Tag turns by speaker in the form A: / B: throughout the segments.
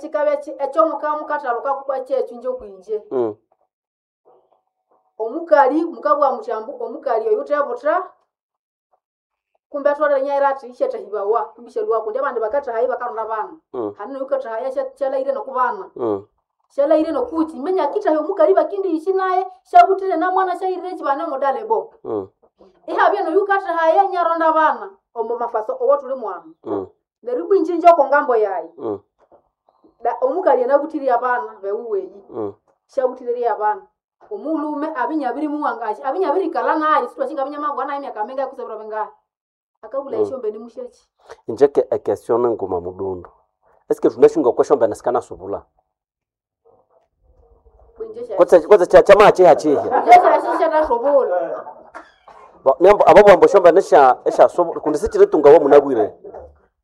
A: Ekikabya ekyomukathaluka kyekyo inje kwinje. Omukali mukabugha muthi ambu omukali oyu wuthebutha kumbe atholere inyaghira athi isyathahibawa kumbe isyalhwa kundi abandi bakathahayo ibakaronda abana. Hane noyukathahaya syalahire nokubana. Syalahire nokukyi iminya akithahya omukali bakindihisi naye syabuthire namwana syahirire ekibane omudalebo. Ihabya noyukathahaya inyaronda abana omo mafaso owathuli mwanu. Neryo ibwa inje inje okongambo yayi omukali anabuthirye abana bewuweyi syabuthire abana. Omulhume abya inyabirimuwangasya abya inyabirikalha naye sithwasi ngabya inyamabugha naye emyaka mingahi kutse ebiro bingahi. Akabulaya esyombene musyaki.
B: Inje e question ninguma mudundu. Eske thunasi ngoko esyombene sikanasubula?
A: Kwinje
B: Kutse kyamaha kyiha kyiha.
A: Inje syasisyathasubula.
B: Nembo abo bambu esyombene esyasubula kundi sikyiritunga wamunabwire.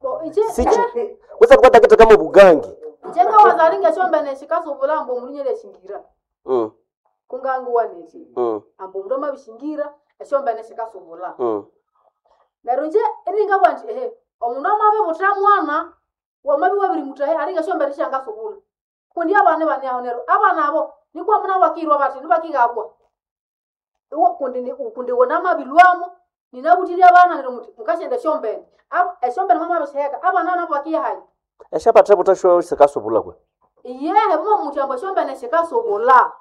A: Bo inje
B: Sikyi kutse thukathakitheka mobugangi.
A: Inje ngawazali ngesyombene sikasubula ambu omundu inyalyashingira. Kunganguwa nethi ambu omundu amabishingira esyombene sikasubula. Neryo inje iringabugha indi ehe omundu amabibutha mwana wamabya iwabirimuthaha alinga esyombene syangasubula. Kundi abana ibane aho neryo abana abo nikwa munabwo bakiyirwa bathi nibakighabwa. Iwa kundi kundi iwe namabilhwamo ninabuthirye abana neryo muthi mukasyenda esyombene. Esyombene mwamabisiheka abana nabo bakiyahayi.
B: Esyabathebutha syo sikasubula kwe?
A: Iyehe mwamuthi ambu esyombene sikasubula.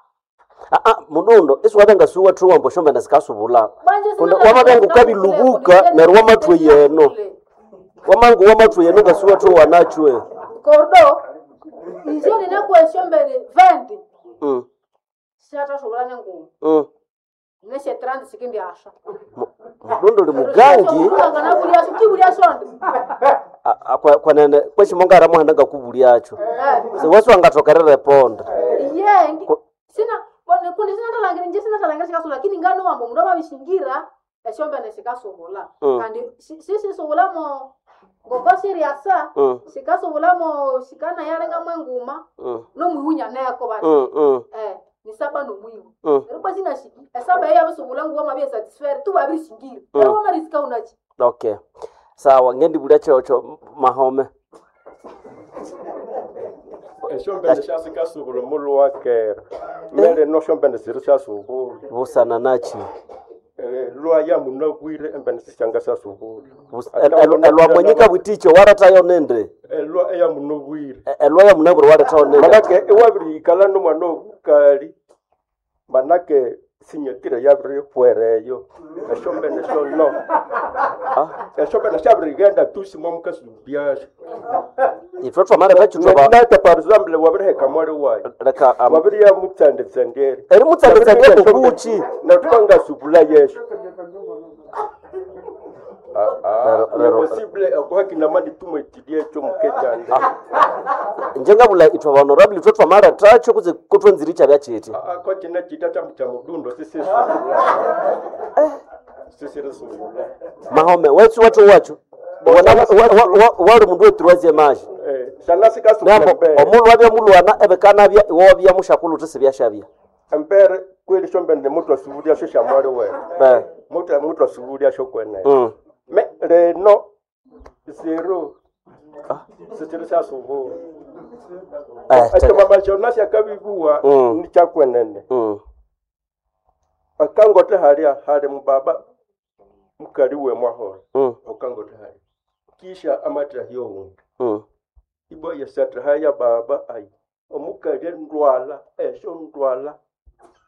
B: Mudundo isiwabya ngasiwathuwa ambu esyombene sikasubula.
A: Bwanje
B: Kundi wamabya ngukabilubuka neryo wamathwa yeno. Wamangu wamathwa yeno ngasiwathuwa nachwe.
A: Kordo inje ninakwa esyombene 20. Syathasubula nenguma. Nesye 30 sikindyasha.
B: Mudundo uli mugangi.
A: Nganabulyasyo kibulya sonde.
B: Kwenene kwesi mongara muhanda ngakubulyakyo. Siwasi wangathokerera eponda.
A: Iye sina kundi sinathalangira inje sinathalangira sikasubula lakini nganowa ambu omundu amabishingira esyombene sikasubula. Kandi sisisubulamo ngoko siryasa sikasubulamo sikanayalenga mwenguma nomwihu nyaneko bati. Nisaba nomwihu. Neryo bwa sinashiki esaba eyo yabisubula nguwa mabya satisfaire tu wabirishingira. Neryo wamarisika unachi.
B: Okay. Sawa ngendibulya kyokyo mahome.
C: Esyombene syasikasubula omulhu wakera. Mbere no syombene siri syasubula.
B: Busana nachi?
C: Lwa yamunabwire embene sisyangasyasubula.
B: Elwa mwanyika bwiticho warethayo nindi?
C: Elwa eyamunabwire.
B: Elwa yamunabwire warethayo nindi?
C: Manake iwabiriyikala nomwana obukali manake sinyatire yabirihwereyo. Esyombene syono. Esyombene syabirighenda tu simwamukasubyasyo.
B: Ithwe twamareta kyithwaba
C: Nata par exemple wabiriheka mwali wayi.
B: Leka
C: Wabiriyamutsanditsandere.
B: Erimutsanditsandere kukuchi?
C: Nathukangasubula yesu.
B: Lero
C: Possible okuhakina mali tumwetilie ekyo mukejanja.
B: Inje ngabula ithwe ba honorable ithwe twamarethacho kutse kutwenzire ikyabya kyithi.
C: Ko kine kita kya kya mudundo sisisubula. Sisirisubula.
B: Mahome wethu wathu wacho. Wali mundu wetroisième âge.
C: Sana sikasubula
B: Nembo
C: mbere.
B: omundu wabya mulwana ebikanabya iwe wabya mushakulhu uthi sibyashabya.
C: Embere kweli shombene muthu asubulya sho shamwali wewe. Muthu muthu asubulya sho kwene. Me reno zero. Sisiri syasubula. Ekyo mama Jonas akabibuwa ni kyakwenene. Akangote halya hali mubaba mukali we mwahora. Okangote halya. Kisha amatra hiyo wundi. Ibwa yesatra haya baba ayi. Omukali ndwala esho ndwala.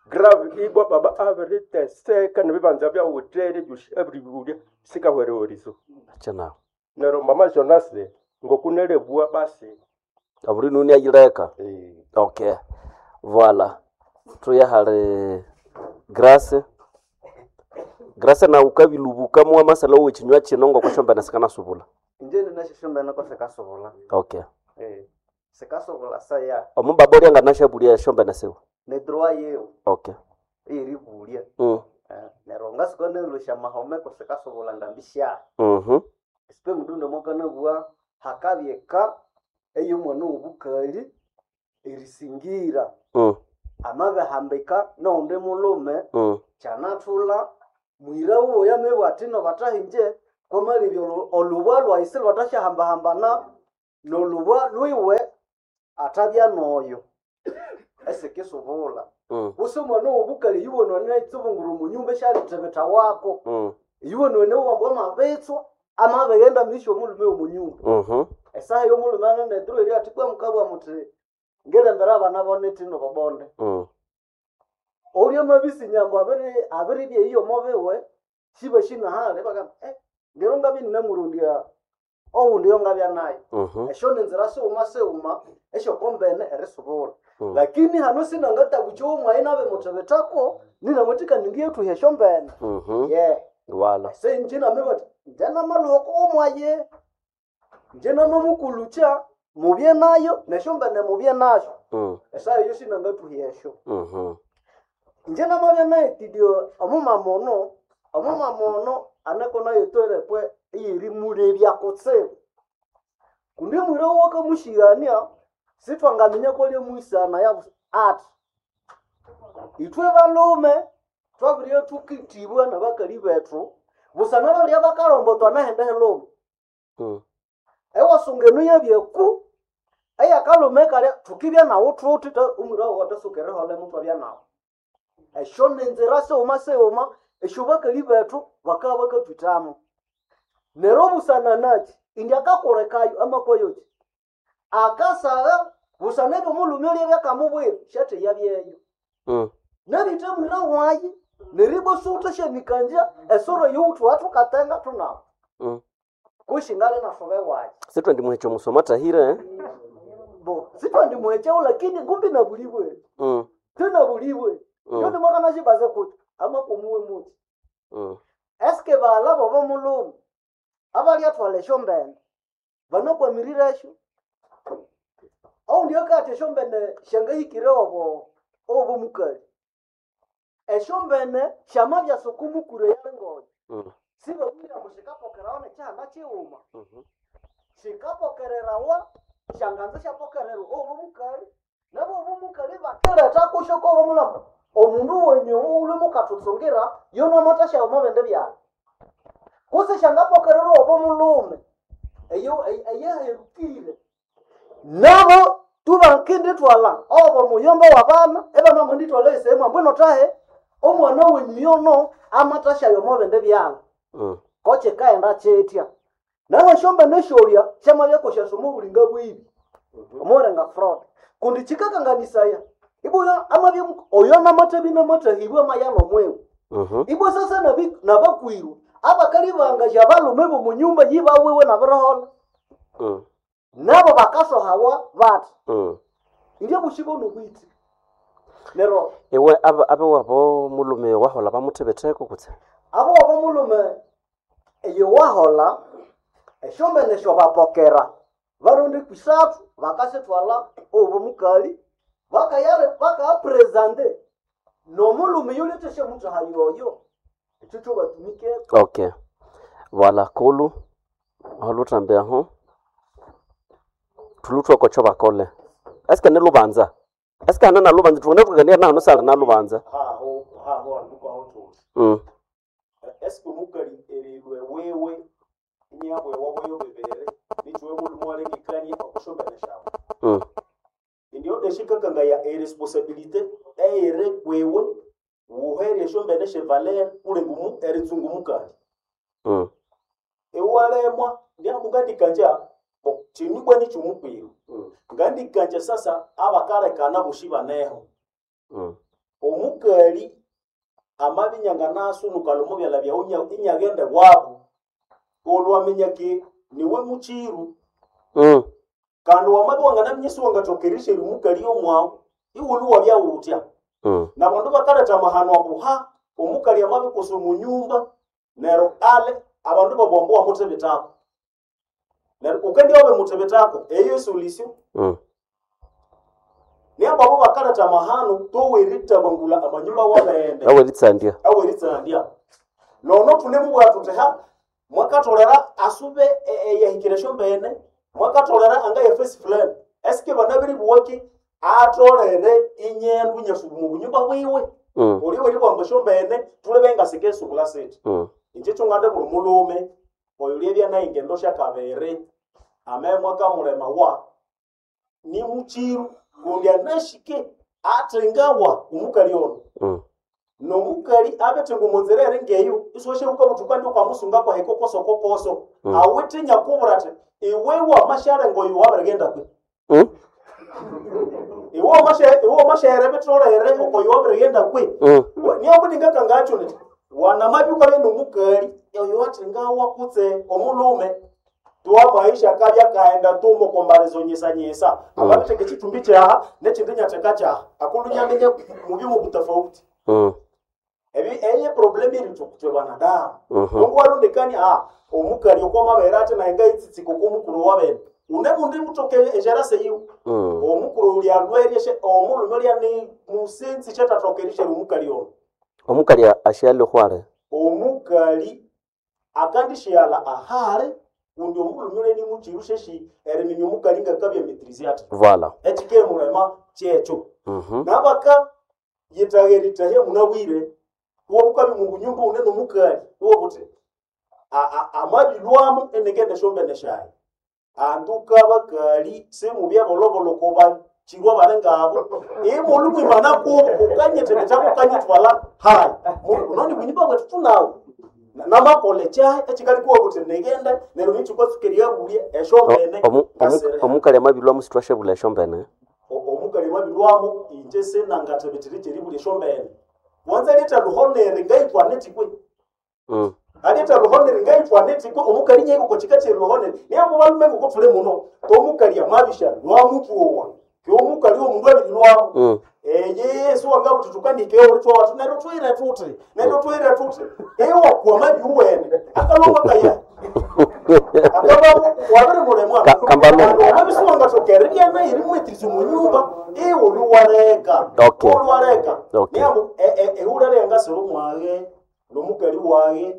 C: Grave ibwa baba abiriteseka nebibanza bya hoteli byushi abiribulya sikahwerewerizo.
B: Acha
C: Nero mama Jonas ngokunelebwa basi.
B: Aburi nuni ayireka. Okay. Voilà. Tuya hali Grace. Grace na ukabilubuka mu amasala wechinywa kino ngoko sikana subula.
D: Inje ninasyo ko sikasubula.
B: Okay.
D: Sikasubula saya.
B: Omubaba orya nganashabulia shombene siwe.
D: Ne droit yewe.
B: Okay.
D: Eribulya. Neryo ngasiko nelusha mahome ko sikasubula ngambisha. Isipe mundu mwakanabugha hakabyeka ey'omwana w'obukali erisingira. Amabihambika n'owundi mulhume kyanathulha mwira wuwe yamabugha athi nobathahinje kwamalebya olubwa lwayi silhwathasyahambahambana n'olubwa lwiwe. Atabya noyo esikisubula. Kuse omwana w'obukali yuwonone itsubungura omunyumba esyalithibitha wako. Yuwonone wambwa amabitswa amabighenda misyo omulume w'omunyumba. Esaha y'omulume ananetiro eri athi kwa mukabwa muthi ngilembera abana bonetino bobonde. Olya mabisinyambo abiribya eyo omobiwe siba shinahali bagamba ngero ngabya ninamurondya owundi yo ngabya nayo. Esyo ni nzira sighuma sighuma esyokombene erisubula. Lakini hano sinangatabucha omwayi nabimuthibithako ninamwathikana ngiyethuha esyombene. Yeah.
B: Wala.
D: Senje nami bati nje namaluhoko omwaye nje namamukulucha mubye nayo nesyombene mubye nasyo. Esaha eyo sinangathuha esyo. Nje namabya naetidio omumama ono aneko nayo toilepwe eyerimulebya kutsibu. Kundi mwira wakamushigania sithwangaminya kwali mwisana yabu ati ithwe balume twabirye tukitibwa nabakali bethu busana babirya bakarombotwa nahende helume. Ewasunga eno yabyeku eyakalume kalya thukibya nawu thuthi omwira wawu athasuka eriholemo thwabya nawu. Esyo ninzira sighuma sighuma esyo bakali bethu bakabya bakathwithamo. Neryo busana naki indi akakolekayo amakoyoki akasagha busana ebyomulhume olya byakamubwira syatheya byeyo. Nabitha mwira wayi neribwa siwuthasyanikangya esoro eyowuthu wathukatenga thunawu. Kushi ngali nasobe wayi.
B: Sitwendi muheche omusomo athahire.
D: Bo sitwendi muhechewo lakini ngumbi nabulibwe. Tinabulibwe. Ndio nimwakanashibaze kuti amakomuwe muti. Eske baghala bobo mulume abalyathwala esyombene banakwamirire esyo oundi akathi esyombene syangahikire obo obo mukali esyombene syamabya sukumukuru eyalingoyo. Sibabwire ambu sikapokerawa nekyihanda kighuma. Sikapokererawa syanganza syapokererwa obo mukali nabo obo mukali bakiretha kusyo kobo mulamo omundu wenyu uli mukathuntsungira yono amathasyawa omwabindi byalha. Kutse syangapokererwa obo mulume eyo eyaherukire nabo tubakindithwalha obo muyomba wabana ibanamwendithwalha esehemu ambu ino thahe omwana wenyu yono amathasyayo omwabindi byalha. Kokyikaghenda kyithya. Naho esyombene esyolya syamabya syasoma obulinga bwibi omulinga fraud kundi kyikakanganisaya ibwa amabya oyo namathabya namathahibwa amaya nomwiwe. Ibwa sasa nabakwiru abakali bangasya abalume b'omunyumba yibawiwe nabiriholha. Nabo bakasohawa bathi indya bushibo nobwitsi. Neryo
B: Iwe abe wabo mulume wahola bamuthibitheko kutse?
D: Abo wabo mulume eyo wahola esyombene syobapokera barundi kwisathu bakasithwalha obo mukali bakayare bakapresente nomulume yulethe muthaha yoyo ekyo kyobatumikeko.
B: Okay. Wala kulu holuthambe aho thuluthwa okwacho bakole. Eske ni lubanza? Eske hana na lubanza thukane tukania na hano sali na lubanza.
E: Haho haho anduko aho thuthi. Eske omukali erilwe wewe inyabwe wabo yobebere nichiwe mulume walengekania okushombene shawe. Indio eshikakangaya eresponsabilité eyiri kwiwe wuherye esyombene syevaler kulinga eritsunga omukali. Iwalemwa ndiambu ngandikanja kyinu ibwa nikyomukwiru. Ngandikanja sasa abakalekana bosi baneho. Omukali amabya inyanganasunuka omo byalha byawu inyaghenda ewabu olwaminya ki niwe mukiru. Kandi wamabya wanganaminya isiwangathoka erisherya omukali yomwawu iwulhu wabya wuthya. Nabandu bakaletha amahano ambu ha omukali amabikusa omunyumba neryo ale abandu babugha ambu wamuthibithako. Neryo wukendibya wabimuthibithako eyo esolution. Niambu abo bakaletha amahano towerithabangulha amanyumba wabene.
B: Aweritsandya.
E: Aweritsandya. Nono thunemubugha thuthi ha mwakatholera asube eyahikira esyombene mwakatholera angaya face fulani eske banabiribuwa ki atholere inyendu inyasuba omu bunyumba bwiwe. Olyo weribugha ambu esyombene thulebe ngasikesubula sithi. Inje kyongande buli mulume oyo lyebya nayo engendo syakabiri amabya mwakamulema wa ni muchiru kundi anashike atengawa omukali ono nomukali abethenga omunzira eri ngeyo isiwashabuka buthuka ndi ukamusunga kwahe kokoso kokoso awithe nyakubura athi iwe wamashalenga oyo wabirighenda kwe iwe wamashahere bitolere okoyo wabirighenda kwe niyo ndingakangakyo nti wanamabi ukabya nomukali oyo athengawa kutse omulume tuwa maisha akabya kaenda tumo kombarizo nyisanyisa amabitheka ekitumbi kyaha nekindi nyatheka kyaha akulunyaminya mubyuma butafauti ebi eye problem iri tukutwe banadamu mungu warundikani omukali okwamabere ati naye ngaitsitsika okwomukuru wabene une mundi mutoke ejarase yiwe omukuru uli alweryeshe omulume ulya ni musinzi shetatokerishere omukali ono
B: Omukali ashyali khwale.
E: Omukali akandishyala ahale kundi omulume ulya ni muchiru sheshi eriminya omukali ngakabya maîtriser ati
B: Voilà.
E: ekikemulema kyekyo nabaka yitagheritahya munabwire wobukabi mungunyumba une nomukali wobuti amabilwamu enengende shombene shayi anduka bakali simubya bolobolo koba chirwa bale ngabo imulu mwimana kubo ukanyetele chako ukanyitwala hayi unoni bunyumba bwetu tunawo namakole chayi echikali kuwa kuti negende neryo nichikwatsukeria bulya eshombene
B: Omukali amabilwamu sitwashabula eshombene.
E: Omukali mabilwamu inje senangathebethere cheribulya eshombene wanza leta luhonere ngaitwa netikwe aleta luhonere ngaitwa netikwe omukali nyeko kochika che luhonere niyangu balume ngokotule muno tomukali amabisha lwamutuowa kyomukali omundu abiri lwamu eye siwanga kuti tukandike ulitwa watu neryo twire tuti neryo twire tuti ewa kwamabi uwene akaloma kaya akaba wabiri mulemwa amabisi wangatokere lyana iri mwetirizi munyumba iwe oluwareka oluwareka niyambu ehulere yangasiro mwage nomukali wage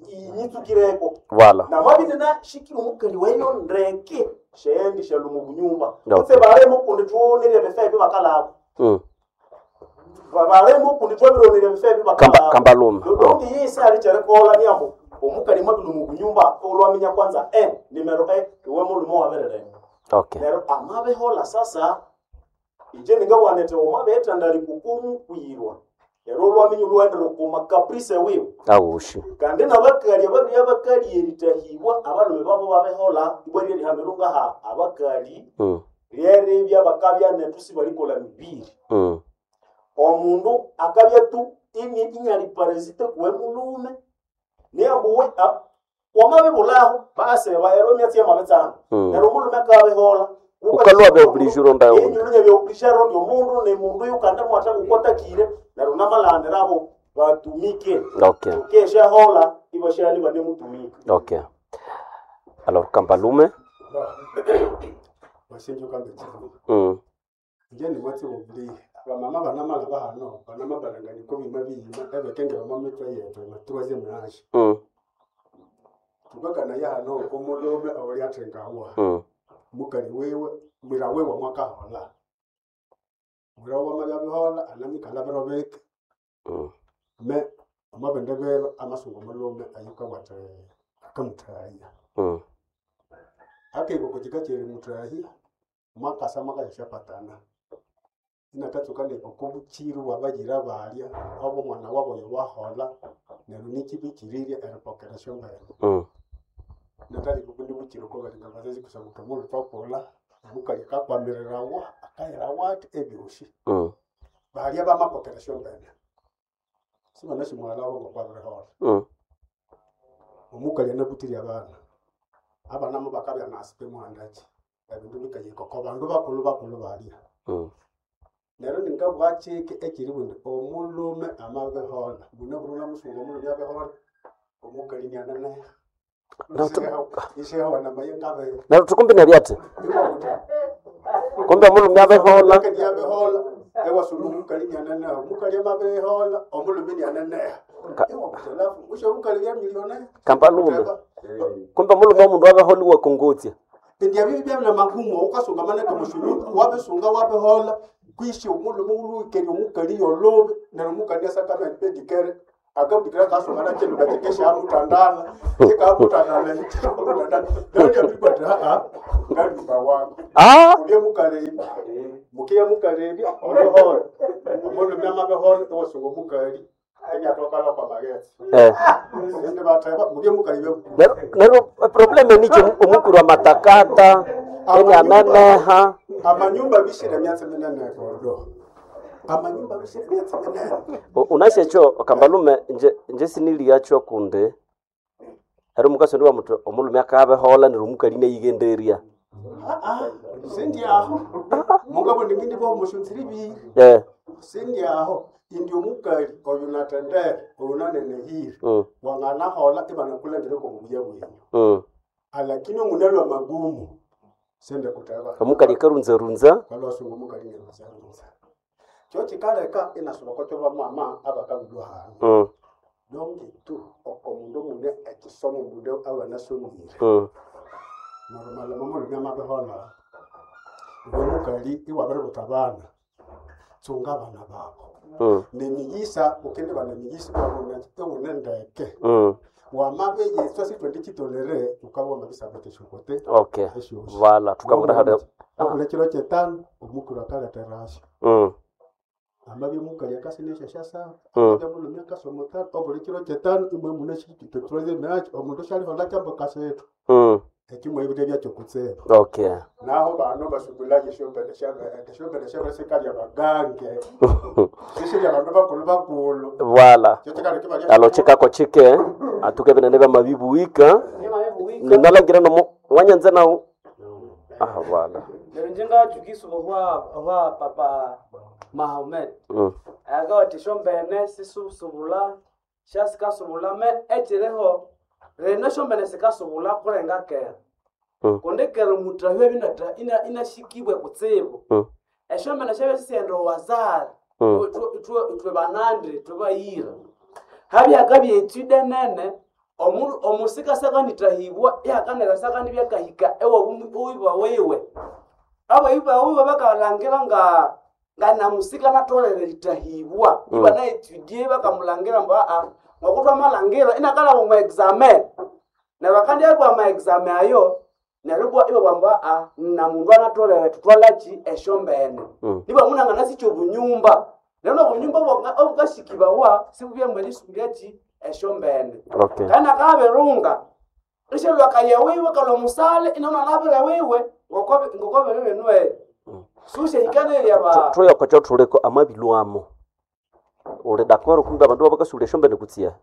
E: inyitsukireko
B: Voilà.
E: namabini nashikire omukali weyo ndeke shendi shalumu bunyumba kutse balemo kundi tuonere bifa ebi bakalabo balemo kundi twabironere bifa ebi bakalabo
B: Kambalume.
E: donge yese ali kyerikola niyambu omukali mwabilumu bunyumba olwaminya kwanza nimero iwe mulume wabereremo
B: Okay.
E: neryo amabihola sasa inje ningabwanete omabetandali kukumu kwirwa ero olwaminya olwendere kuma caprice wiwe
B: Awushi.
E: kandi nabakali ababiri abakali eritahibwa abalume babo babehola ibwa lyerihamiro ngaha abakali lyeribya bakabya nethu sibalikola mibiri omundu akabya tu inyali parasite kuwe mulume niyambuwe wamabibulaho baseba ero emyatsi yamabitsana neryo omulume akabihola
B: Ukalwa beobligé ronda wundi.
E: inyulunya beobligé rondi omundu ni mundu yukande mwatha ngukotakire neryo namalandirabo batumike
B: Okay.
E: keshahola ibashali banemutumika
B: Okay. Alors Kambalume.
F: Wasinja ukambe Nje ni watsi bubuli abamama banamala bahano banamabalangani bima biyima ebekengera omo mitwe yetu ema troisième âge tukakana yahano omulume owuli athengawa mukali wiwe mwira wiwe mwakahola mwira wamabyabihola anamikala biro bike me omabende biro amasungu omulume ayukawathe akamuthahya akiko kika kyeri muthahya mwakasa mwakayashapatana inakatsuka okobuchiru bwabayira balya obo omwana wabo oyo wahola neryo nikibikirirye eripokera esyombene natali kubundi buchiru kobalinga bazazi kusaba omundu twakulha omukali akakwamirirawa akayirawa athi ebyosi balya bamapokera esyombene sibanashimwalabo ngokwabirihola omukali anabutire abana abana mo bakabya nasipe muhandaki ebindu bikayikoko bandu bakulhu bakulhu balya neryo ningabwakyike ekiri bundi omulume amabihola mune burula musungu omulume abihola omukali niananeha ishehawa namaye ngabe
B: Neryo tukumbi nebyati. Kumbe omulume abihola.
F: abihola ewasula omukali niananeha omukali amabihola omulume niananeha ewakutelafu usho omukali bya milionaire
B: Kambalume. Kumbe omulume omundu abeholiwa kongotya.
F: Ndya bibi bya magumu ukasunga maneke mushulu wabisunga wabihola kwishi omulume uluikeria omukali yolobe neryo omukali asakabya pedikere Akabudikira kasomana kindu kakikeshamutandala kikamutandala kikamutandala nalyabirikwata aa ngaluka wangu
B: Ah,
F: ulye mukalebya mukiya mukalebya oluholo omulumi amabeholo ewasunga omukali enyatokala kwa maghetse
B: eh.
F: indi batheba mulye mukalebya
B: Nero nero probleme nicho omukuru amatakata enianeneha
F: amanyumba bishire myatsi minene kodo amanyumba bishire myatsi minene
B: unashe ekyo kambalume nje nje siniliyacho kundi heri omukasi ndi wamuthi omulume akabehola neryo omukali inayighenderya
F: aa sindi aho mugabo ndingindi bomushunziri biri
B: eh.
F: sindi aho indi omukali oyu natendere oyu nanenehire wanganahola ibanakulangire kobubuya bwenyu Alakini omunalwa magumu sende kuteba
B: omukali akarunzarunza
F: kalwasunga omukali neruzarunza kyo kikaleka inasuba kyo bamama abakabulwa hanu donge tu oko mundu mune ekisomo mundu abanasomire narumalama mulume amabihola iwe mukali iwabiributa abana tsunga abana babo nemiyisa ukindi bana emiyisa iwune ndeke wamabeyiswa sitwendi kitolere ukaba wamabisabata esyokote
B: okay
F: esyosi
B: vala tukabura hada
F: abula kiro kyetano omukuru akaleterasyo amabya mukali akasinesha syasaba amabya mulumi akasoma tano obuli kiro kyetano imwe mune kitotolere nakyo omundu syalihola kyambo kasethu ekimwe ebire byakyo kutsibu
B: okay
F: naho bano basukulaje esyombene esyombene syabasikalya bagange sisirya bandu bakulu bakulu
B: vala
F: kyo kikaleka ibalya
B: alo chikako chike atuke binene byamabibuwika ninalangira nomo wanyanza nawu ah vala
G: Lero njengajukisa hwa papa Mahomet akawati shombene sisusubula syasikasubula me ekireho reno shombene sikasubula kurenga kera kundi kera omutahyo ebinata inashikibwe kutsibu eshombene syabya sisighenda owazari ithwe banandi ithwe bayira habyakabya etude nene omusika sakanithahibwa ihakaneka sakanibyakahika ewabu wiwe abayiba wiwe bakalangira nga namusika natolere litahibwa iba naetudie bakamulangira mbu aa ngokutwa malangira inakalaba mu examen neryo akandyabwa ama examen ayo neryo ibwa ibabwa mbu aa namundu anatolere tutwalaki esyombene nibwa munanganasikya obunyumba neryo nobunyumba obukasikibawa sibubya erisumbya esyombene
B: okay
G: kana kabirunga ishelwakaya wiwe kalwa musale inaona nabire wiwe ngokobere benwe sushehikanerya ba
B: thuyoko kyothuliko amabilwamo uli dakoro kumbe abandu babakasulya esyombene kutsia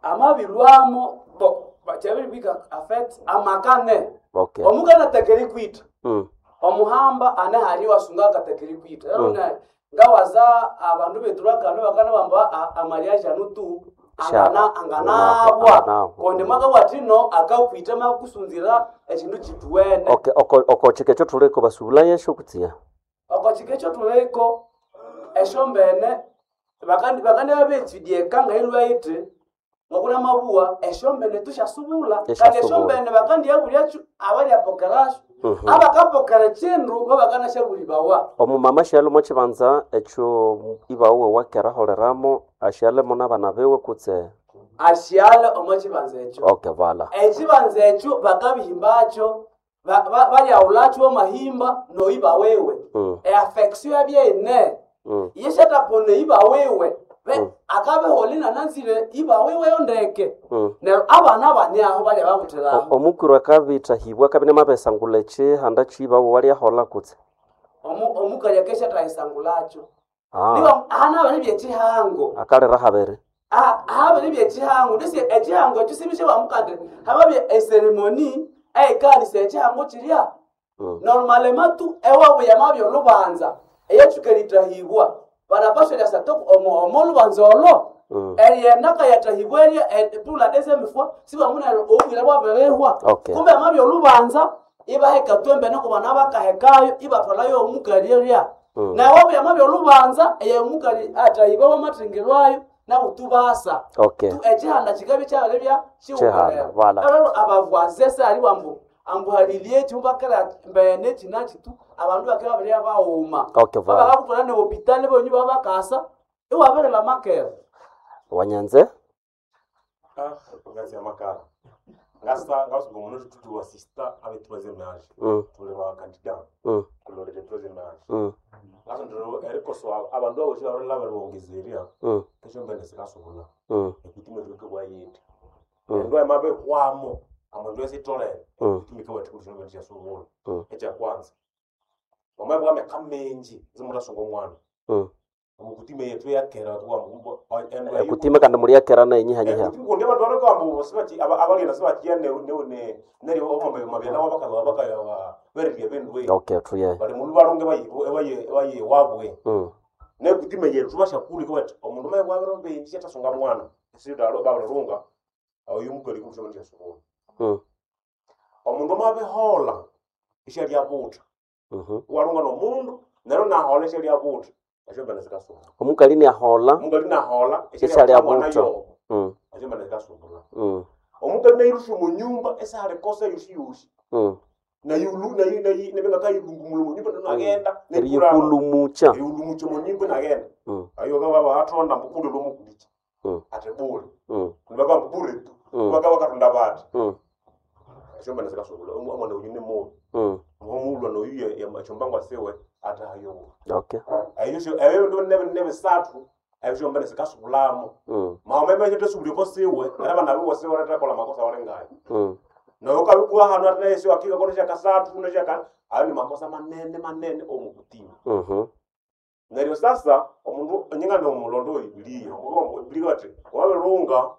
G: amabilwamo bo kyabiribika affect amakane
B: okay
G: omukana tekeri kwita omuhamba ane hali wasunga akatekeri kwita mm. ngawaza abandu bethu bakano bakana bamba amaliaje anu tu angana anganabwa
B: Anganabwa.
G: kundi mwakawatino akakwita makakusunzira ekindu kituwene
B: okay oko oko chike kyothuliko basubula yesyo kutsia
G: oko kika ekyotuliko esyombene bakandi babetsudyeka ngailwa iti ngokuna mabuwa esyombene tusyasubula kandi
B: Esyasubula.
G: esyombene bakandi yabulyakyu abalyapokerasyo abakapokera kindu babakanasyabulibawa
B: omumama syalimo kibanza ekyo ibawe wakeraholeramo asyalemo n'abana biwe kutse
G: asyale omo kibanza ekyo
B: okay vala
G: ekibanza ekyo bakabihimbakyo balyawulakyo amahimba noiba wewe eafection yabyene yeshatapona iba wewe akabehola inananzire iba wewe yondeke neryo abana bani aho balya babuthiraho
B: omukuru akabithahibwa akabya namabesangula ekihanda kyibawe walyahola kutse
G: omukali akeshatayisangulakyo
B: ah
G: niba ahana bali byekihango
B: akalira habiri
G: habali byekihango ndisi ekihango ekyo sibishe bamukande hababye eseremoni eyikanisa ekihango kirya normalement tu ewabu yamabya olubanza eyetsuka eritahibwa banapaswa eryasa omo olubanza olo eryenaka yatahibwa erya pula desemifwa sibamunero obwira bwabirihwa
B: Okay.
G: kumbe amabya olubanza ibaheka twembene kubana bakahekayo ibathwalayo omukali erya naye wabu yamabya olubanza eyomukali atahibwa wamathengerwayo nabutubasa
B: okay
G: tu ekihanda kikabya kyabiribya
B: Kihanda, vala.
G: abavwaze sali bambu ambuhalilie ekyo bakera mbene kinaki tu abandu bakera babirya bawuma
B: Okay, vala.
G: babakakutwala ne hopitali bonyi babakasa iwabirila makera.
B: Wanyanze
E: Ngazi ya makala ngasa ngasuka omuno tutu wa sister abe troisième âge tuli ba candidat kulolera troisième âge ngasa ndiro erikoso abandu aboshi barela baribongezeria kesho mbene sikasubula ekutima tuke bwayindi endo emabe hwamo amandu esitolere ekutima ke bwati mbene syasubula ekya kwanza wamaye bwa myaka mingi zimutasunga omwana omukutima yetu yakera
B: Ekutima kandi muri yakera naye nyihanyiha.
E: Kundi abantu barikamba sibachi abaliana sibachiya ne ne neri omama mabyana wabakaza bakaya berirya bendwe.
B: Okay, tuye.
E: Bali mundu balonge bayi bayi bayi wabwe. Ne kutima yetu bashakuli ko bati omundu maye bwabero benji yatasunga mwana. Sidalo babalunga oyu mukali kushoma ndiyasubula. Omundu mabehola isha lya buta. Walunga no mundu nero nahola isha lya buta. Esho sikasubula.
B: Omukali ni ahola.
E: Omukali nahola
B: isha lya buta.
E: Esho mbene sikasubula. Omukali nairusha mu nyumba esahali kosa yoshi yoshi. Nayulu nayi nayi nebenga kayilungumulo mu nyumba nagenda.
B: Eriyikulumucha.
E: Eriyikulumucha mu nyumba nagenda. Ayo baba atonda mbukule lomukulicha. Ate bule. Nibaka mbure tu. Baka bakatonda bati. Esho mbene sikasubula. Omwana uyu ni mubi. Omulwa noyu ya machombangwa sewe atahayo.
B: Okay.
E: Ayo ayo ndo nebe nebe satu ebyo mbene sikasubulamo. Maomeme ekyo tesubuleko siwe era bana biwo siwe retakola makosa walengayo. Nayo kabikuwa hano ate naye siwakika kono shakasatu kuno shaka ayo ni makosa manene manene omukutima. Neryo sasa omundu nyinga nomulondo Bibiliya omulondo Bibiliya ati wabirunga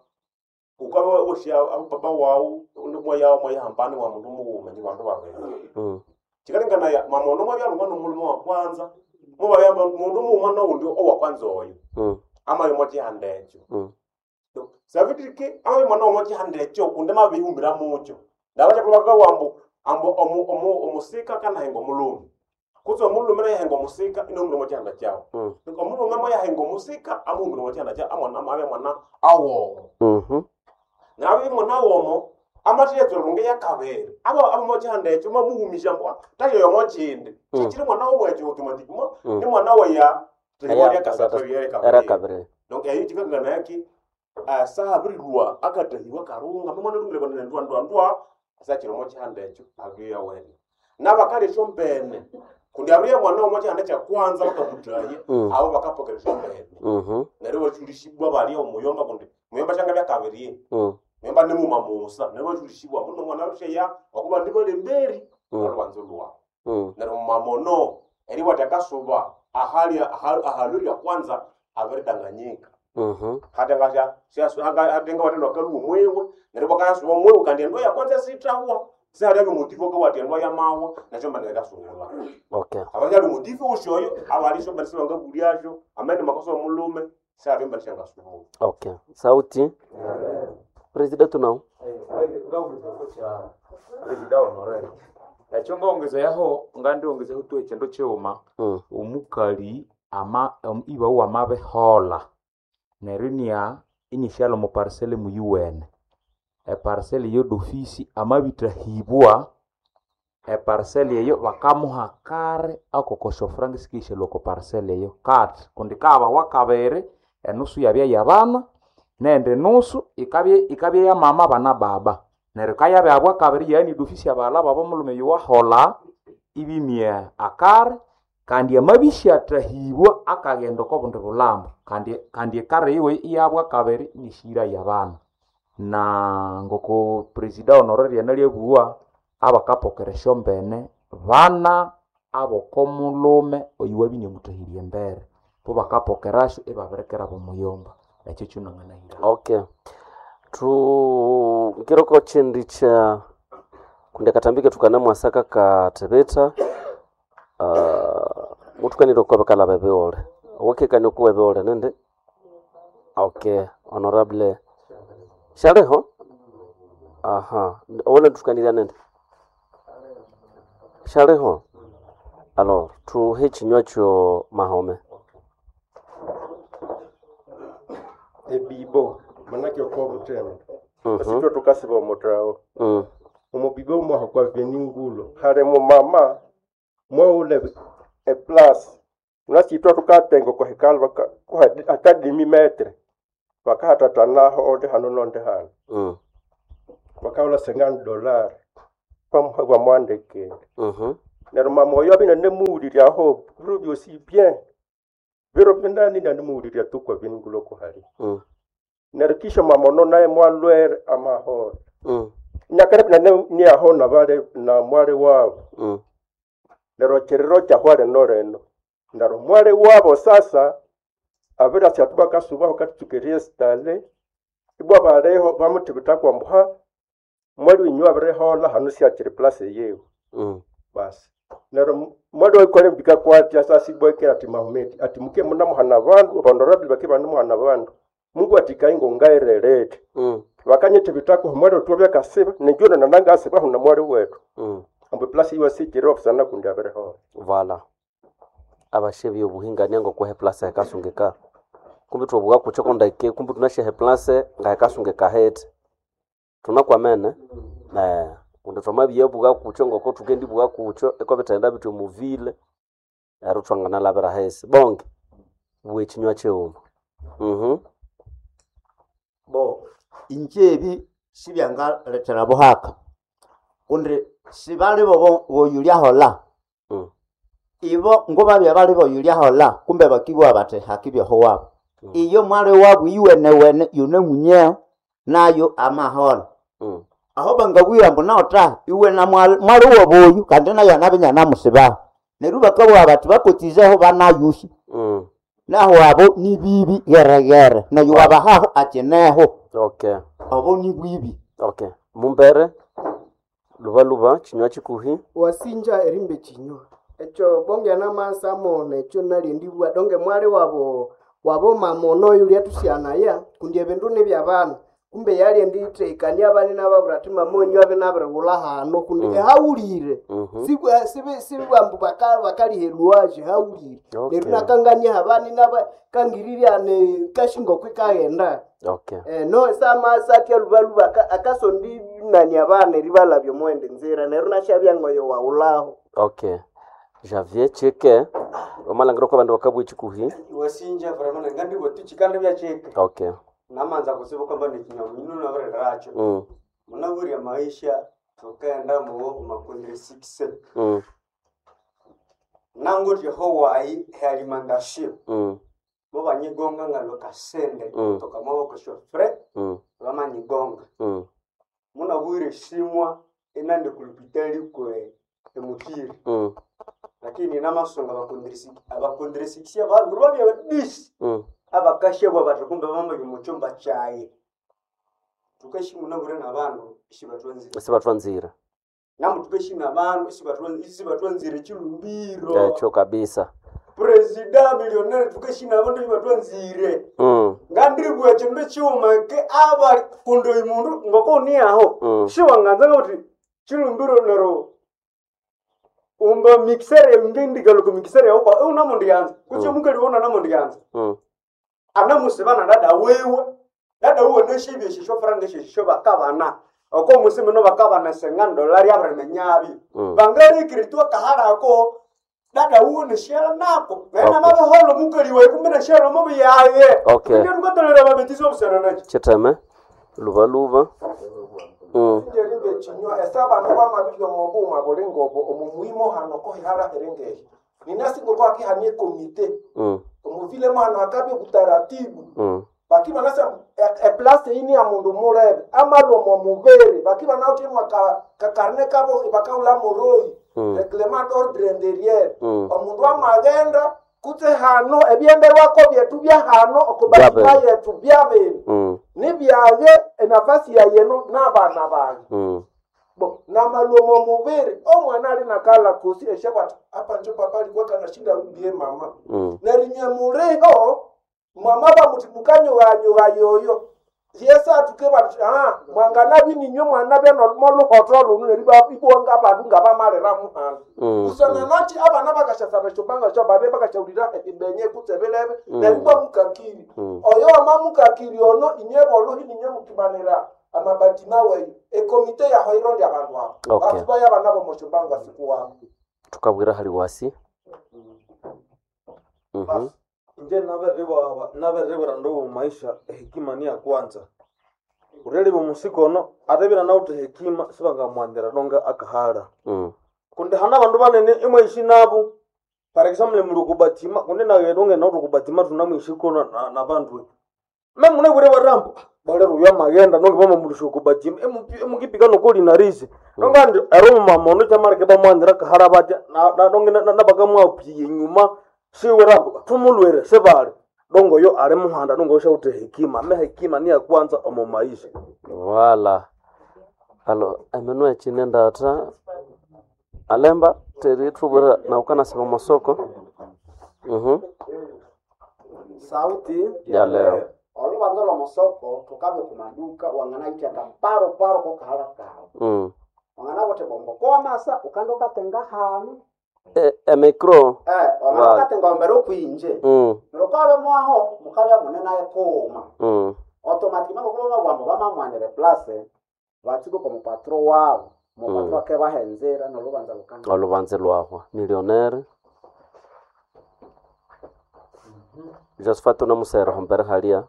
E: ukaba osha abapapa wawu mwa mwayahambani wa mundu muwuma ni bandu babiri. Chikalingana ya mamono mwabyalunga nomulimo wa kwanza mubayamba mundu muwuma nowundi owa kwanza oyo. Amayo mwachihanda ekyo. Savitirike amayo mwana omwachihanda ekyo kundi mabihumbira mukyo. Ndabachakulu wambu ambu omusika kanahenga omulume. Kutse omulume nayahenga omusika inomumbira mwachihanda kyawo. Omulume mwayahenga omusika amuhumbira mwachihanda kyawo amwana abe mwana awomo. Nabe mwana awomo amathiyetso runge yakabere. Abo abo mwachihanda ekyo mamuhumisha mbwa tayo yomochindi. Chichiri mwana omwecho automatic mo ni mwana weya
B: Era kabere.
E: Donc eyo chikangana yaki asabirirwa akatahiwa karunga mwana lungire bana ndwa ndwa ndwa asachiro mochihanda ekyo agiya wene. Nabakali shombene kundi abriya mwana omochihanda kya kwanza bakamutaye abo bakapokera shombene. Neryo bachulishibwa bali omuyomba kundi muyomba shanga byakabiri. Muyomba ni muma musa neryo bachulishibwa muno mwana rusheya wakuba ndi balemberi olwanzo lwa. Neryo mamono eri watakasuba ahali ahaluri ya kwanza abiridanganyika. Hatenga hatenga watendo kalu mwewe neryo bakayasuba mwewe kandi endo ya kwanza sitawa sihali abyo motivo ko watendwa ya mawa nacho mbana kasungula.
B: Okay.
E: Abali motivo ushoyo abali mbana sibanga bulyasho amene makosa omulume sihali mbana shangasungula.
B: Okay. Sauti. President tunao.
H: President honorable. Ekyo ngongezeyaho ngandiongezeho tu ekindu kighuma omukali ama iba wamabihola neryo inia inishyalha omu parcel muyuwene eparcel eyo d'office amabithahibwa eparcel eyo bakamuha kare akokosyo franga sikishalwa oko parcel eyo kati kundi kabawa kabiri enusu yabya yabana nendi nusu ikabya ikabya yamama bana baba neryo kayabya kabiri yaani d'office abaghalha babo omulhume yowaholha ibimya akare kandi amabisyathahibwa akaghenda oko bundi bulhambo kandi kandi ekare yiwe iyabwa kabiri inishira yabana na ngoko presida honoraire analyabugha abakapokera esyombene bana abokomulhume oyuwabya inamuthahirye embere bo bakapokerasyo ibabirikira bomuyomba ekyo kyonanganahira.
B: Okay. Tu ngiroko chindi cha kundi akatambike tukanamwasaka kathebetha mutukanire okwa bakalaba ebighole owakekania okuwa ebighole nindi okay honorable shaliho aha owole tukanirya nindi shaliho alors tuhe ekinywa kyo mahome
C: Ebibo manake okwa butembo asitwe tukasiba omuthawo omubibo mwaho kwa venинgulo hali mumama mwaule eplasi unasitwa tukatenga kwa hekalu atadimi metre Bakahatatanaho onde hano nonde hano. Bakahola $50 bamwandikire. Neryo mama oyo abine nemuwuliryaho biro byosi bien. Biro binani nanimuwulirya tu kwa bininguloko hali. Neryo kisha mama ono naye mwalwere amahoro. Nyakare binane niyaho na bale na mwale wabo. Neryo kiriro kyahwa lino lino. Neryo mwale wabo sasa abirasi atu bakasubaho katutsukerie sitale ibwa baleho bamuthibita kwambuha mwali winyu abirihola hano syakiri place yewe. Basi neryo mwali waikole mbika kwatya sasa ibwekera ati Mahometi ati muke munamuhana bandu abandu bake banemuhana bandu Mungu ati kaingo ngairelete. Bakanyithibitako mwali otwa byakasiba nenjono nanangasibaho na mwali wetu. Ambu place iwe sikiri ofisana kundi abirihola.
B: Vala abashe obuhingania ngokwehe place hekasungika kumbi twobuka kucho kondeke kumbi tunashehe place ngahekasungika hete tunakwamene eh kundi twamabya buka kucho ngoko tukendi buka kucho eko bitenda bityo muvile ero twanganalabira hesi bonke bwe chinywa cheuma
I: Bo inje ebi sibyangalethera buhaka kundi sibali bobo boyulyahola. Ibo ngobabya bali boyulyahola kumbe bakibugha bathi hakibyeho wabo. Iyo mwali wabu iwenewene yune munyeo nayo amahola. Aho bangabwira mbu naota iwe na mwali mwali woboyu kandi nayo anabinya namusibaho. Neryo bakabugha bathi bakotizeho banayuhi. Naho abo ni bibi geregere nayo wabahaho akineho.
B: Okay.
I: Abo ni bwibi.
B: Okay. Mumbere luba luba chinywa chikuhi
J: wasinja erimbe chinywa ekyo bonge namasa mona ekyo nalindibwa donge mwali wabo wabo mama ono yulia tusyanaya kundi ebindu nibyabana kumbe yalyenditheikania abana nababwira ati mama wenyu abe nabirighulha hano kundi ehawulire. Sibwambu bakaliheluwaje hawulire.
B: Okay.
J: Neryo nakangania abana nabakangirirya kashingo kwikaghenda.
B: Okay.
J: No samasatya lubaluba akasondi nani abana eribalabya omwende nzira neryo nashabya ngoyo wawulaho.
B: Okay. Javier cheke omalangiro kwa bandu bakabwe chikuhi.
K: Wasinja vraiment ngandi tuchikanda bya cheke.
B: Okay.
K: Namanza kusiba kwamba ni kinyamino nabareracho. Munabwirya maisha tukaenda muwo makundire 6. Nango Hawaii alimentation. Bo banyigonga nga lokasende toka maboko shofre bamanyigonga. Munabwire shimwa enande kulupitali kwe emukiri. Lakini namasonga abakondiresikisia bandu babya badisi. Abakashebwa bati kumbe bambaye mu cyumba cyaye. Tukashimuna bure n'abandu ishibatwanzira.
B: Sibatwanzira.
K: Namu tukashimuna abantu ishibatwanzira chilumbiro.
B: Ekyo kabisa.
K: Presida millionaire tukashimuna abantu ishibatwanzire. Ngandiribwa chindu chiuma ke aba kundo imundu ngoko ni aho. Shiwanganza ngoti chilumbiro nero umba mixer ngendika ko mixer yako kwa una mundu yanza. Kucho mukali wona na mundu yanza. Anamusibana dada wewe. Dada uwe neshibye shisho franga shisho bakabana. Oko musime no bakabana senga dolari abramenyabi. Bangari kiritwa kahara ko dada uwe neshela nako. Naye mabe holo mukali wewe kumbe neshela mabe yaye.
B: Okay.
K: Ndio tukatolera babetizo obusana nacho.
B: Chiteme luba luba.
L: Njerimbe chinywa esaba nukwamabibyo mobuma bulingobo omumuimo hano kohihara erengehi ninasingo kwakihanie komite omuvile mwana akabye butaratibu. Bakiba nasa eplace ini ya mundu murebe amalomo mubere bakiba nautimwa ka kakarne kabo bakaula moroi. Reglement d'ordre intérieur. Omundu amagenda kutse hano ebyenderwako byetu bya hano okubatima
B: Byabere.
L: yetu byabere nibyaye enafasi yayeno n'abana bange. Bo namalomo mubere omwana ali nakala kosi eshakwati apa njo papa alikuwa kanashinda rudie mama. Nerinya muliho mwama bamuti mukanyuganyuga yoyo yesu atuke bati ah mwangana bininyo mwana bya moluhoto lunu neri ibonga abandu nga bamalira muhano. Kusana nachi abana bakashasaba eshobanga sho babe bakashaulira ebenye kutsebelebe. Neri bwa mukakiri oyo wama mukakiri ono inye boluhi ninye mukimanira amabati maweyo ekomite yaho irondi abandu abo.
B: Okay.
L: Batu baya abana bomoshobanga siku wabo.
B: Tukabwira hali wasi.
M: Inje nabiribwira ndowo maisha ehekima ni ya kwanza. Urelebe omusikono atebira nawuthe hekima sibangamwanzira nonga akahala. Kundi hana abandu banene imwaishi nabo, par example muli okubatima kundi naye donge nawuthe okubatima tunamwishi kono nabandu. Me munabwire barambo balero uyu amaghenda nonge bamamulusha okubatima imukipika nokolinarisi. Nonga andi ero omumama ono kyamaleka ibamwanzira akahala batya donge nabakamwapyiya enyuma siwe rambo thumulwire sibali. Dongo oyo ali muhanda dongo oyo syawuthe hekima. Me hekima niya kwanza omo maisha.
B: Wala. Alo, emenu ekine ndata alemba teri thubwira nawu kanasiba omosoko.
D: Sauti
B: Ya leo.
D: olubanza lw'omusoko thukabe kumaduka wanganaitya kamparo paro kokahala kawu. Wanganabuthi bombo kowamasa ukanda ukatenga hanu.
B: Emicro.
D: Wangana ukatenga ombere okwinje. Neryo kwabe mwaho mukabya mune naye kughuma. Automatic ngokuba babwambo bamamwanira place batsuka kwa mupatro wabo. Mupatro akebahenzera nolubanza lukanda.
B: Olubanza lwahwa. Millionaire. Josephat unamusera hombere halia.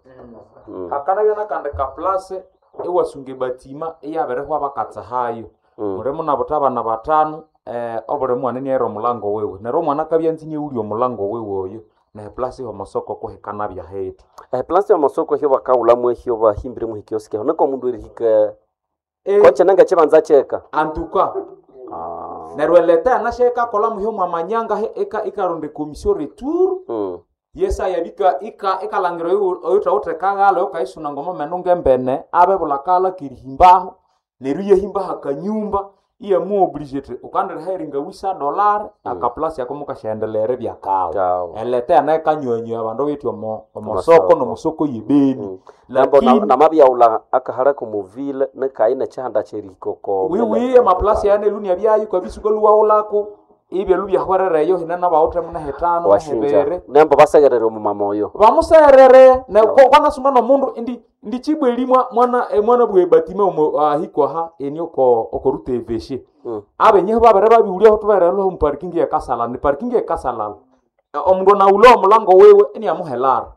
H: Hakanabya nakandi kaplase iwasunga ebatima iyabirihwa bakatsahayo. Mulimo nabutha abana bathanu, obuli mwana iniaghira omulango wiwe. Neryo omwana akabya anza iniaghulya omulango wiwe oyo. Nehe place y'omusoko kuhikanabya heti.
B: Eplasi y'omusoko hyo bakawulhamu ehyo bahimbiremu hikioski aho niko omundu erihika koche nanga ekibanza kyeka.
H: Antuka. Neryo eleta yanasya ikakolha muhyo mwamanyanga ikaronda ekomissio retour. Yesaya bika ikalangira oyuthawithe kaghala oyukayisuna ngomomeno ngembene abebulha kaghala kerihimbaho neryo iyahimbaho akanyumba iyamuoblige ithi ukandiriha eringa wisa dollar akaplasi ako mukasyaendelea eribya kawu. Eleta yanayo ikanywanywaya abandu abayithi omosoko nomosoko yebeni.
B: Nambo namabyawulha akahala komuvile nikayi nekyihanda kyerihika oko
H: Wiwi amaplasi aya nelunia byayo kwabisuka luwaghulako ibyalhu byahwerereyo hine nabawithe munehithanu
B: washinja.
H: nehibiri.
B: Nembo basekerere omumama oyo.
H: Bamuserere kwanasuma nomundu indi ndichibweli mwana mwana bwe batime omo ahikwaha eni oko okoruta eveshe. Abenyeho babere babiwulyaho tuberelho omu parking ye Kasalala, ni parking ye Kasalala. Omundu anawulha omulango wiwe iniamuhelara.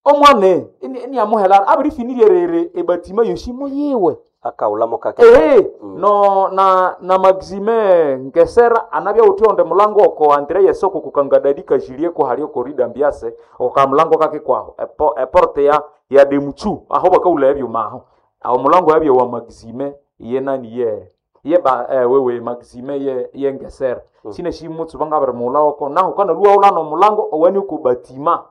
H: Omwana iniamuhelara abirifinirye ebatima yosi muyiwe.
B: Akawulhamo kake.
H: Ehe, no na Maxime Ngesera anabya uthi onde mulango oko Andre yesoko kukangadadi kajilie ko hali oko rida mbiase oka mulango kake kwaho eporte ya demuchu aho bakaula ebyo maho aho mulango yabyo wa Maxime ye nani ye ye ba wewe Maxime ye Ngesera. Sine shimutsu bangabere mula oko naho kana luwa ulano mulango owani uko batima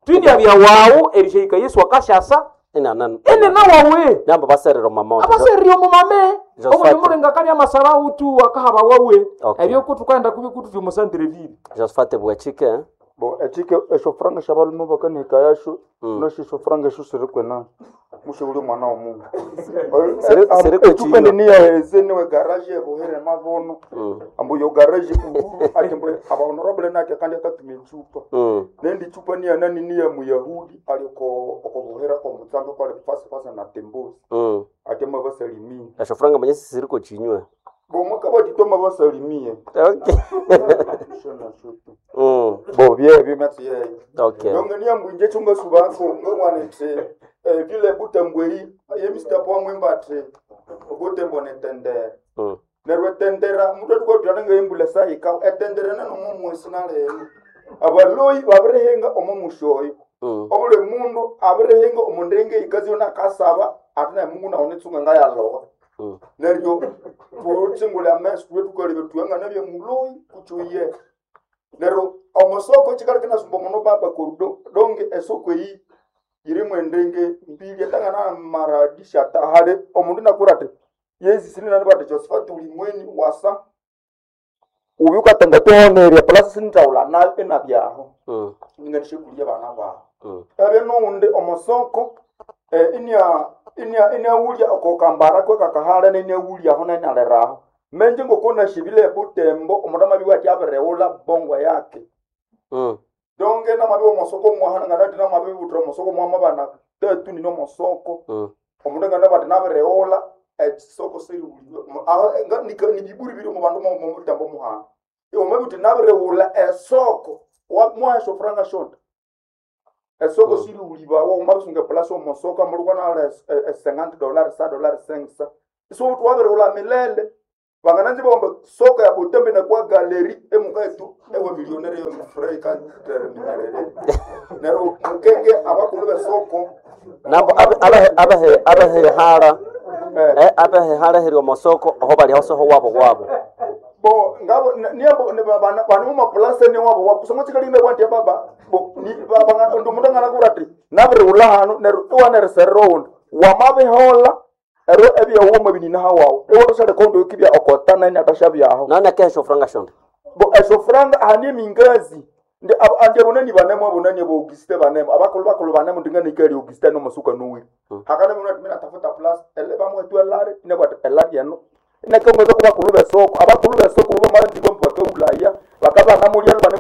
H: twindi abya wawu erishika Yesu akashasa
B: Ene
H: ene nawawe
B: Nambo baserere omumama oyo.
H: abaserire omumame
B: Josephat.
H: omundu mulinga akabya amasaba utu akahaba wawe
B: Okay.
H: ebyo kutukaenda kubi kututi omusantere
B: Josephat bwachike.
N: Bo echike esyo franga syabalume bakanihika yasyo nosyo esyo franga esyo siri kwena musibuli omwana womundu.
B: Siri kwe
N: Echupa
B: chinywa.
N: niyaheze niwe garage ebuhere mabono ambu yo garage uhuru ati mbu abahonorable nake kandi akatuma echupa nendi chupa niya nani niya muyahudi ali oko okobuhera komutsanga kwali fasi fasi na tembosi ati mabasalimie
B: Esyo franga manyesi siri ko chinywe.
N: bomwe kabatitoma basalimie.
B: Okay.
N: Bo byebyo myatsi yeyo.
B: Okay.
N: Yonge niyambu inje chungasubako ngomwana nti vile butembwei ye Mr. Pwamwimba ati obutembo netendera. Neryo etendera omundu atukatwala ngaimbula sahika etendera nenomo mwesi naleno. Abaloyi babirihinga omo musyoyo. Obuli mundu abirihinga omundu ikazi yona akasaba ati naye Mungu nawo nitsunga ngayalowa. Neryo tutsingule ameso tuwe tukalebe tuwangana bya muloyi kuchuye. Neryo omosoko chikali kinasumba muno baba korudo donge esoko eyi yirimu endenge mbili etangana maradisha hali omundu nakura ati yezi sini nani bati Josephat ulimweni wasa ubi ukatenga tohonerya plus sinitawula nayo enabyaho ninganishe kulia bana baho ebe noundi omosoko inia inia iniawulya okokambara kwekakahala niniawulyaho nenialeraho menje ngokonashibile ebutembo omundu amabiwa ati abireghulha bongwa yake donge namabiwa omosoko mwahana nganati namabibuthira omosoko mwamabana tatu nini omosoko omundu ngana bati nabireghulha ekisoko siriwuliwe aho nibiburi biri omu bandu momutembo muhana iwe mabibuthi nabireghulha esoko mwaha esyofuranga syonda. Esoko siriulibawa umabisunga epulasi omosoko amulukwana e $50 sa dollar 5 so twabirighula milele vangananzi bomba soko ya Butembo inakuwa galeri emuka etu ewe milionere yo mfurahi kantereminerere nero mukenge abakulu besoko
B: Nabo abe abehehara abehehara heri omosoko aho bali hosoho wabo wabo.
N: Bo ngabo niambo bana mu mapulase ne wabo wabo kusoma chikalinda kwanti baba bo ni baba ndo mundu ngana kurati nabirighula hano nero iwanereserera oundi wamabihola ero ebyawoma binina hawawo iwatosha kondo kibya okota nani atasha byaho
B: nani akesho franga shonde
N: bo esho franga hani mingazi ndi andi abonani banemo abonani abo Auguste banemo abakulu bakulu banemo ndingana ikali Auguste no masuka nuwiri hakana muna tumina tafuta plus ele bamwe tu elari ine bwa elari yano inakongeza ku bakulu besoko abakulu besoko bo maranzi bo mpaka Ulaya bakaba namulya bane